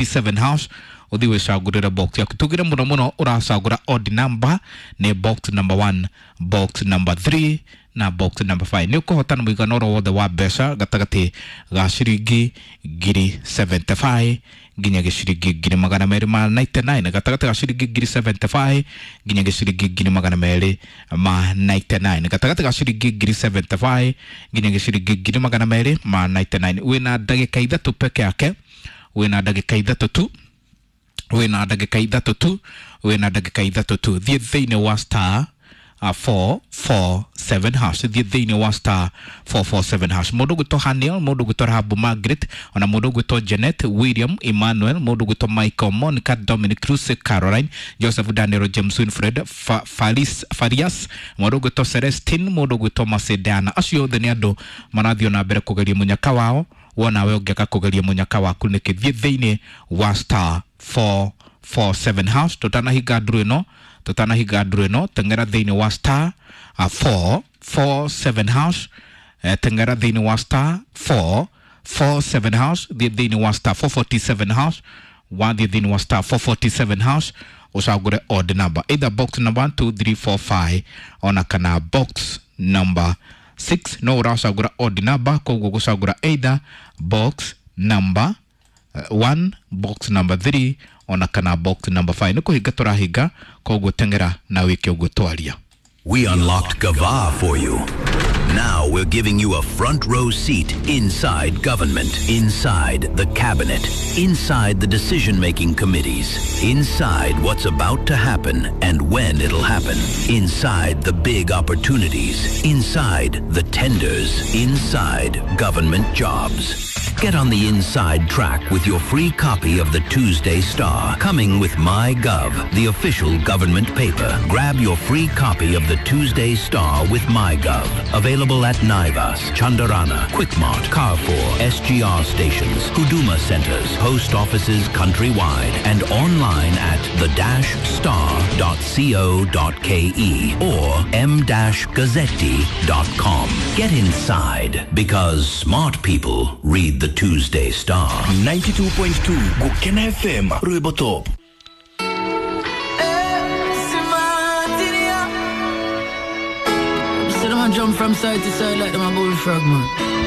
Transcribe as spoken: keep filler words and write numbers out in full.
four forty-seven hash, uthi wicagurire box yaku. Tugire muno muno uracagura odd number, ni box number one, box number three na box number five. Nĩ ũkũhotana mũigana oro wothe wa mbeca gatagatĩ ga ciringi ngiri mĩrongo mũgwanja na ithano nginya gĩciringi ngiri magana merĩ ma mĩrongo kenda na kenda, gatagatĩ ga ciringi ngiri mĩrongo mũgwanja na ithano nginya gĩciringi ngiri magana merĩ ma mĩrongo kenda na kenda, gatagatĩ ga ciringi ngiri mĩrongo mũgwanja na ithano nginya gĩciringi ngiri magana merĩ ma mĩrongo kenda na kenda. Wĩna ndagĩka ithatũ peke yake, wĩna ndagĩka ithatũ tu, wĩna ndagĩka ithatũ tu, wĩna ndagĩka ithatũ tu. Thiĩ thĩinĩ wa star uh, four four seven hash, thiĩ thĩinĩ wa star four four seven hash. Mũndũ ũgwĩtwo Haniel, mũndũ ũgwĩtwo Rahabu Margaret, ona mũndũ ũgwĩtwo Janet, William, Emmanuel, mũndũ ũgwĩtwo Michael, Monica, Dominic, Lucy, Caroline, Joseph, Daniel, James, Winfred, Fa, Faris, Farias, mũndũ ũgwĩtwo Celestine, mũndũ ũgwĩtwo Macedana, acio othe nĩ andũ marathiĩ na mbere kũgeria mũnyaka wao. Wona we ũngĩaga kũgeria mũnyaka waku nĩkĩ? Thiĩ thĩinĩ wa star four four seven hash. Tũtanahinga nduru ĩno, tũtanahinga nduru ĩno, teng'era thĩinĩ wa star uh, four four seven hash. eh, teng'era thĩinĩ wa star four four seven hash, thiĩ thĩinĩ wa star four four seven hash. Wathiĩ thĩinĩ wa star four four seven hash, ũcagũre odd number, either box number one, two, three, four, five ona kana box number six. No ũracagũra odd number, koguo gũcagũra either box number one, box number three ona kana box number five. Nĩ kũhinga tũrahinga, koguo teng'era na wĩke ũguo twaria. We unlocked Gava for you. Now we're giving you a front row seat inside government, inside the cabinet, inside the decision making committees, inside what's about to happen and when it'll happen, inside the big opportunities, inside the tenders, inside government jobs. Get on the inside track with your free copy of the Tuesday Star, coming with MyGov, the official government paper. Grab your free copy of the Tuesday Star with MyGov. Available at Naivas, Chandarana, Quickmart, Carrefour, S G R stations, Huduma centers, post offices countrywide, and online at the dash star dot co dot k e or m dash gazzetti dot com. Get inside, because smart people read the Tuesday Star. ninety-two point two Gukena F M, Rwimbo Top. See them a jump from side to side like them a bullfrog, man.